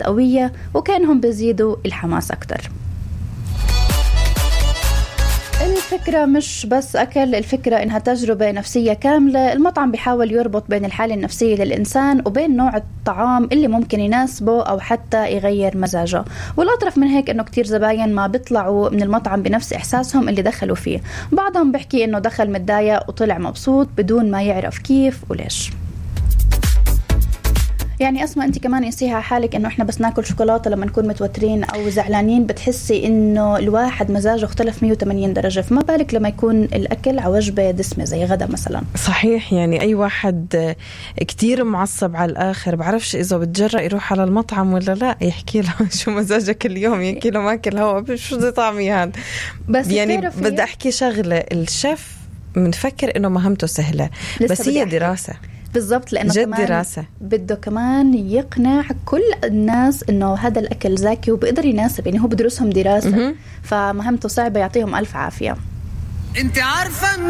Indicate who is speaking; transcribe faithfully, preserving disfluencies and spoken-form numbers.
Speaker 1: قوية وكانهم بيزيدوا الحماس أكتر. الفكرة مش بس أكل، الفكرة إنها تجربة نفسية كاملة. المطعم بيحاول يربط بين الحالة النفسية للإنسان وبين نوع الطعام اللي ممكن يناسبه أو حتى يغير مزاجه. والأطرف من هيك إنه كتير زباين ما بيطلعوا من المطعم بنفس إحساسهم اللي دخلوا فيه. بعضهم بيحكي إنه دخل متضايق وطلع مبسوط بدون ما يعرف كيف وليش. يعني أسمع أنت كمان قيسيها حالك إنه إحنا بس ناكل شوكولاتة لما نكون متوترين أو زعلانين بتحسي إنه الواحد مزاجه اختلف مية وثمانين درجة، فما بالك لما يكون الأكل على وجبة دسمة زي غدا مثلا.
Speaker 2: صحيح، يعني أي واحد كتير معصب على الآخر بعرفش إذا بتجرأ يروح على المطعم ولا لا، يحكي له شو مزاجك اليوم، يحكي له ماكل هوا شو زي طعمي هاد. بس يعني بدي أحكي شغلة، الشيف منفكر إنه مهمته سهلة بس هي دراسة
Speaker 1: بالضبط، لأنه
Speaker 2: جد
Speaker 1: كمان
Speaker 2: دراسة
Speaker 1: بده كمان يقنع كل الناس إنه هذا الأكل زاكي وبقدر يناسب، يعني هو بدرسهم دراسة. م- فمهمته صعبة، يعطيهم ألف عافية.
Speaker 3: انت عارفة